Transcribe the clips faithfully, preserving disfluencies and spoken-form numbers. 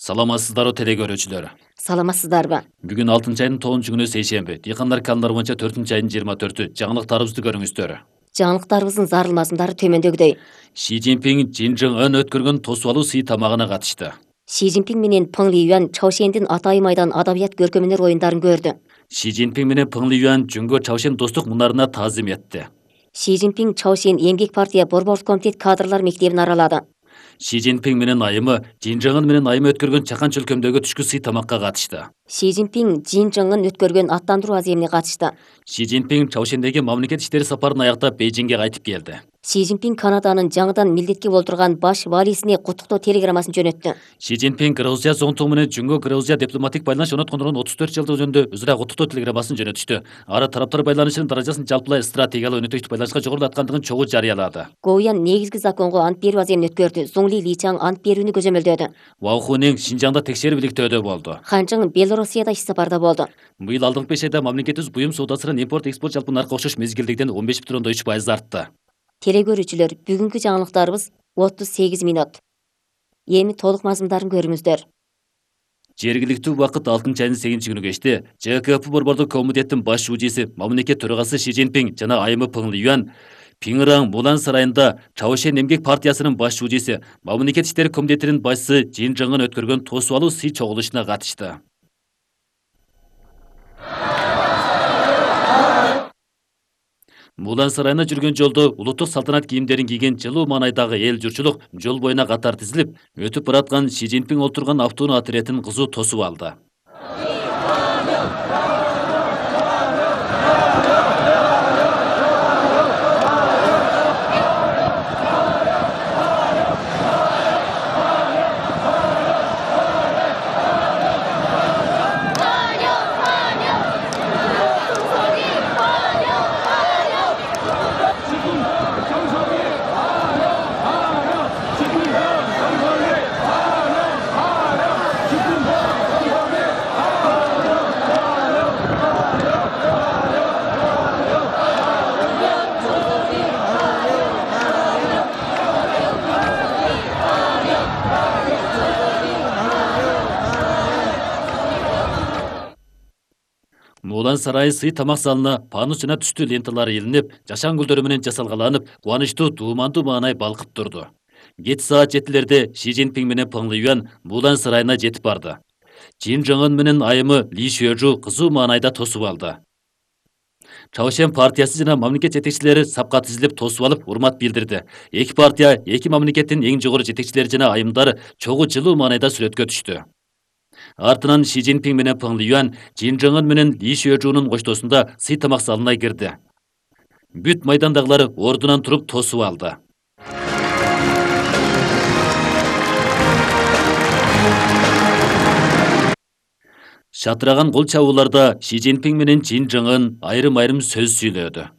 Саламатсыздарбы теле көрүүчүлөр. Саламатсыздарбы? Бүгүн алтынчы айдын тогузунчу күнү сейшемби. Дыйкандар календар боюнча төртүнчү айдын жыйырма төртү. Жаңылыктарыбызды көрүңүздөр. Жаңылыктарыбыздын зарыл мазмундары төмөндөгүдөй. Ши Цзиньпин Чын Чжын Ын өткөргөн тосуп алуу сый тамагына катышты. Ши Цзиньпин менен Пeng Лиюань Чаошендин Атайым айдан адабият көркөмөнөр оюндарын көрдү. Ши Цзиньпин менен Пeng Лиюань Жүнгө Чаошен достук мунарына таазим этти. Ши Цзиньпин Чаошен эмгек партия борбордук комитет кадрлар мектебин аралады. Ши Цзиньпин менен айымы Чын Чжын Ын менен айымы өткөргөн чакан чөлкөмдөгү түшкү сый тамакка катышты. Ши Цзиньпин Чын Чжын Ын өткөргөн аттандыруу аземине катышты. Ши Цзиньпин Чаошендеги мамлекет иштери сапарын аяктап Бейжиңге кайтып келди. Ши Цзиньпин Канаданын жаңыдан милдетке болтурган баш валисине куттуктоо телеграммасын жөнөттү. Ши Цзиньпин Грузия зонтугу менен Жүнгө Грузия дипломатик байланыш орноткондурган отуз төрт жылдык жөнүндө өз ара куттуктоо телеграммасын жөнөтүштү. Ары тараптар байланышынын даражасын жалпылай стратегиялык өнөктөштүк байланышка жогорулаткандыгын чогуу жарыялады. Гоуян негизги законго ант берүү аземин өткөрдү. Зуңли Личаң ант берүүнү көзөмөлдөөдү. Вау Хунин Шинжаңда текшерүү иликтөөдө болду. Хан Чжың Белоруссияда иш сапарда болду. Быйыл алдыңкы беш айда мамлекетибиз буюм соодасынын импорт экспорт жалпы наркка окшош мезгилдегиден он беш бүтүн ондон үч пайыз артты. Теле көрүүчүлөр, бүгүнкү жаңылыктарыбыз отуз сегиз мүнөт. Эми толук мазмундарын көрүңүздөр. Жергиликтүү убакыт алтынчы айдын сегизинчи күнү кечти Ж К П борбордук комитеттин баш шужиси, мамлекет төрагасы Ши Цзиньпин жана айымы Пeng Лиюань Пиңраң Мулан сарайында Чаошен эмгек партиясынын баш шужиси, мамлекет иштери комитетинин башчысы Чын Чжын Ын өткөргөн тосуп алуу сый чогулушуна катышты. Мулан сарайына жүргөн жолдо улуттук салтанат кийимдерин кийген жылуу маанайдагы эл журтчулук жол боюна катар тизилип, өтүп бараткан Ши Цзиньпин олтурган автоунаа отрядын кызуу тосуп алды. Мулан сарайы сый тамак залына панус жана түстүү ленталар илинип, жашан гүлдөрү менен жасалгаланып, кубанычтуу дуумандуу маанай балкып турду. Кеч саат жетилерде Ши Цзиньпин менен Пeng Лиюань Мулан сарайына жетип барды. Чын Чжын Ын менен айымы Ли Шуэжу кызуу маанайда тосуп алды. Чаошен партиясы жана мамлекет жетекчилери сапка тизилип тосуп алып, урмат билдирди. Эки партия, эки мамлекеттин эң жогору жетекчилери жана айымдары чогуу жылуу маанайда сүрөткө түштү. Артынан Ши Цзиньпин менен Пeng Лиюань Чын Чжын Ын менен Ли Шуэжунун коштоосунда сый тамак залына кирди. Бүт майдандагылар ордунан туруп тосуп алды. Шатыраган кол чабууларда Ши Цзиньпин менен Чын Чжын Ын айрым-айрым сөз сүйлөдү.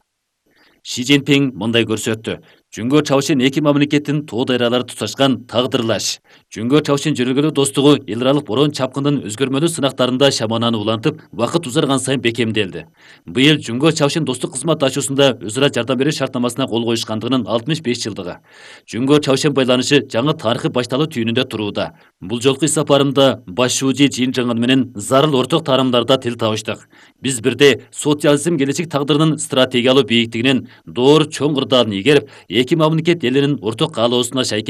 Ши Цзиньпин мындай көрсөттү. Жүнгө Чаошен эки мамлекеттин тоо дайралары туташкан тагдырлаш. Жүнгө Чаошен жөнөлгөлүү достугу эл аралык борон чапкындын өзгөрмөлүү сынактарында шамананы улантып, убакыт узарган сайын бекемделди. Быйыл Жүнгө Чаошен достук кызматташуусунда өз ара жардам берүү шартнамасына кол коюшкандыгынын алтымыш беш жылдыгы. Жүнгө Чаошен байланышы жаңы тарыхый башталуу түйүнүндө турууда. Бул жолку ис сапарымда баш шужи Чын Чжын Ын менен зарыл орток таарамдарда тил табыштык. Биз бирде социализм келечек тагдырынын стратегиялуу бийиктигинен доор чоң кырдаалын ийгерип, эки мамлекет элинин орток каалоосуна шайкеш